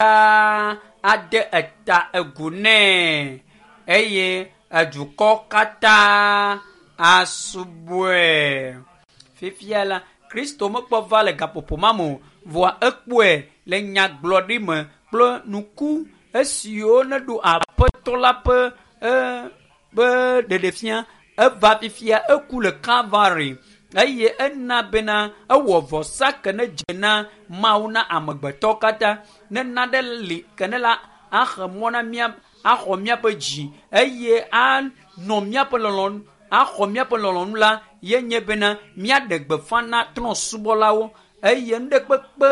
Ade eta egu nɛ eye edukɔ katã asubɔe. Fifia la, Kristo mekpɔ va le gaƒoƒo ma me o, vɔa ekpɔe le nyagblɔɖi me kple nuku esiwo neɖo aƒetɔ la ƒe ƒe ɖeɖefia. Eva fifia eku le Kalvari eye ena bena ewɔ vɔsa ke ne dze na Mawu na amegbetɔ katã. Ne naɖe li ke ne la axe mɔ na mía axɔ míaƒe dzi eye anɔ míaƒe lɔlɔ̃nu axɔ míaƒe lɔlɔ̃nu la ye nye bena míaɖe gbeƒã na trɔ̃subɔlawo eye nu ɖe kpekpe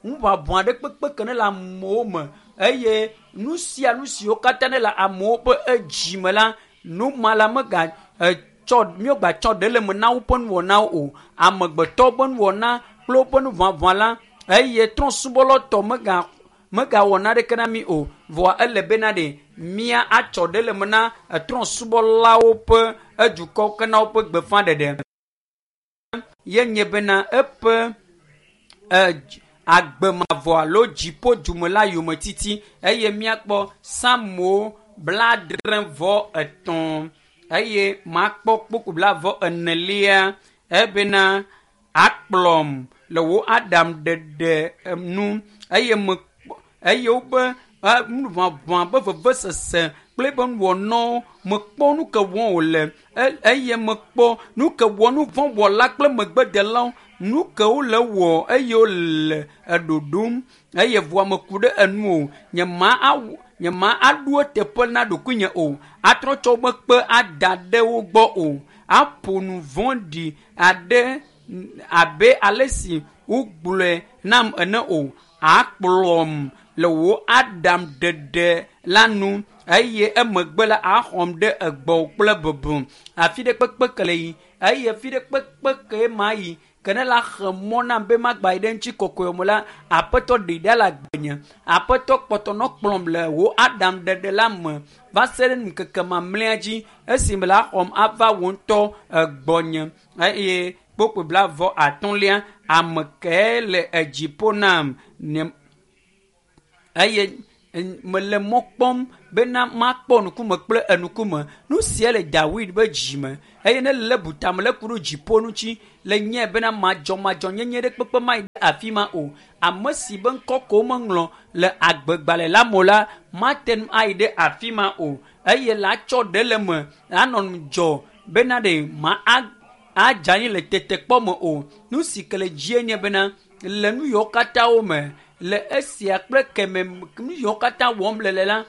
ŋuʋaʋã ɖe kpekpe ke ne le amewo me eye nu sia nu siwo katã ne le amewo ƒe edzi me la nu ma la mega etsɔ míegbatsɔ ɖe le me na woƒe nuwɔnawo o. Amegbetɔ ƒe nuwɔna kple woƒe nuʋaʋã la eye trɔ̃subɔlawo tɔ mega megawɔ naɖeke na mí o. Vɔa ele bena ɖe mía atsɔ ɖe le me na trɔ̃subɔlawo ƒe edukɔ ke na woƒe gbeƒãɖeɖe. Ye nye bena eƒe agbe mavɔ alo dziƒo dume la yometiti eye míakpɔ Psalmo 73 eye makpɔ kpukpu 44 ebena akplɔm le wò aɖaŋuɖeɖe nu eye mekpɔ eye woƒe nuʋaʋã ƒe vevesese kple eƒe nuwɔnawo mekpɔ nu ke wɔm wòle eye mekpɔ nu ke wɔ nu vɔ̃ wɔla kple megbedelawo nu ke wole wɔ eye wole eɖoɖom eye vɔa meku ɖe enu o. Nye ma aɖo eteƒe na ɖokuinye o. Atrɔ tsɔ woƒe kpe ada ɖe wo gbɔ o. Aƒo nu vɔ̃ɖi aɖe abe ale si wogblɔe nam ene o. Akplɔm le wò aɖaŋuɖeɖe la nu eye emegbe la axɔm ɖe egbɔwò kple bubu. Afi ɖe kpekpe ke le yi eye fi ɖe kpekpe ke ma yi ke ne la xe mɔ nam be magba yi ɖe ŋuti kɔkɔe me la, aƒetɔ ɖi ɖa le agbenye. Aƒetɔ kpɔtɔ nɔ kplɔm le wò aɖaŋuɖeɖe la me va se ɖe ŋkeke mamlɛa dzi esime la xɔm ava wò ŋutɔ egbɔnye eye kpukpui 35 ame kae le edziƒo nam nye eye mele mɔ kpɔm bena makpɔ ŋkume kple enukume. Nu sia le Dawid be dzime eye ne le butame le ku ɖo dziƒo ŋuti le nye bena madzɔmadzɔnyenye ɖe kpekpe ma yi ɖe afi ma o. Ame si be ŋkɔ ko womeŋlɔ le agbegbalẽ la me o la mate ŋu ayi ɖe afi ma o eye la tsɔ ɖe le me anɔ ŋudzɔ bena ɖe ma adze anyi le tetekpɔ me o. Nu si ke le dzie nye bena le nu yiwo katã wo me le esia kple keme nu yiwo katã wɔm le le la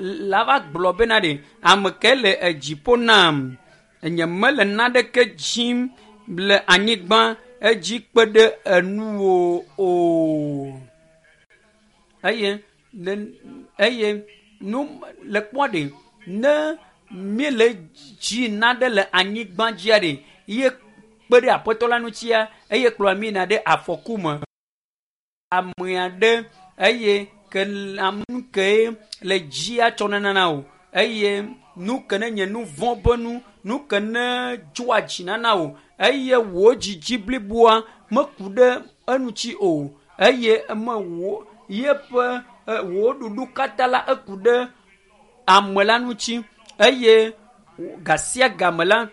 la va gblɔ bena ɖe ame ke le edziƒo nam nye mele naɖeke dzim le anyigba edzi kpe ɖe enuwo o. Eye eye nu le kpɔ ɖe ne míele dzi naɖe le anyigba dzia ɖe ye kpe ɖe aƒetɔ la ŋutia eye kplɔ mí na ɖe afɔku me. Ame aɖe eye ke ame ke le dzia tsɔ nana o eye nu ke ne nye nu vɔ̃ ƒe nu, nu ke ne dzɔa dzi nana o eye wò dzidzi bliboa meku ɖe eŋuti o eye eme wò yeƒe wò ɖuɖu katã la eku ɖe ame la ŋuti eye gasia game la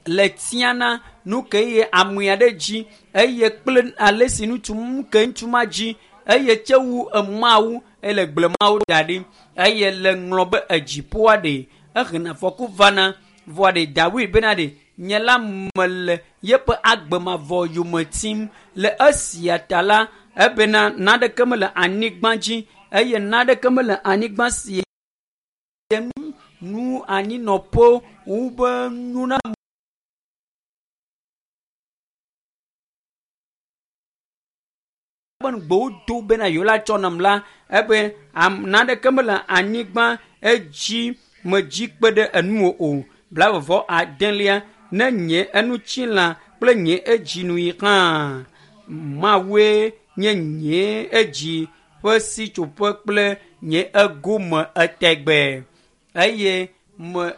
le tiana nu ke ye amea ɖe dzi eye kple ale si ŋutsu nu ke ŋutsu ma dzi eye tse wu emawu ele gblemawo da ɖi eye le ŋlɔ be edziƒoa ɖe ehena afɔku vana vɔa ɖe Dawid bena ɖe nye la mele yeƒe agbe mavɔ yome tim le esia ta la ebena naɖeke mele anyigba dzi eye naɖeke mele anyigba si nu anyinɔƒe wu be nuna be ŋugbewo do bena yewo la tsɔ nam la ebe naɖeke mele anyigba edzi medzi kpe ɖe enuwo o. 29 ne nye enutsila kple nye edzinu yi hã Mawue nye nye edzi ƒe sitsoƒe kple nye egome etegbe eye me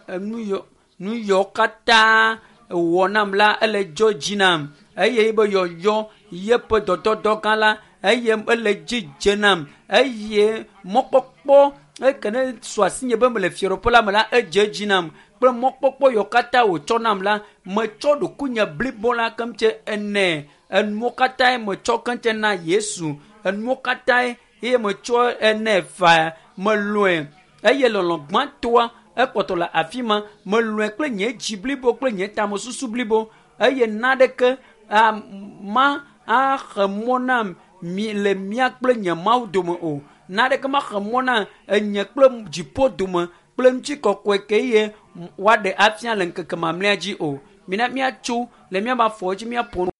nu yiwo katã wɔ nam la ele dzɔ dzi nam eye be yɔyɔ yeƒe dɔdɔdɔ gã la eye ele dzi dze nam eye mɔkpɔkpɔ eke ne su asinye be mele fiaɖuƒe la me la edze edzi nam kple mɔkpɔkpɔ yiwo katã wòtsɔ nam la metsɔ ɖokuinye blibo la keŋtse ene enuwo katãe metsɔ keŋtse na Yesu enuwo katãe eye metsɔ ene fa melɔe eye lɔlɔ gbãtɔa ekpɔtɔ le afi ma melɔe kple nye dzi blibo kple nye tamesusu blibo eye naɖeke ma axe mɔ nam mi le mía kple nye Mawu dome o. Naɖeke maxe mɔ na enye kple dziƒo dome kple ŋutikɔkɔe ke ye woaɖe afia le ŋkeke mamlɛa dzi o. Mina míatso le míaƒe afɔwo dzi míaƒo nu.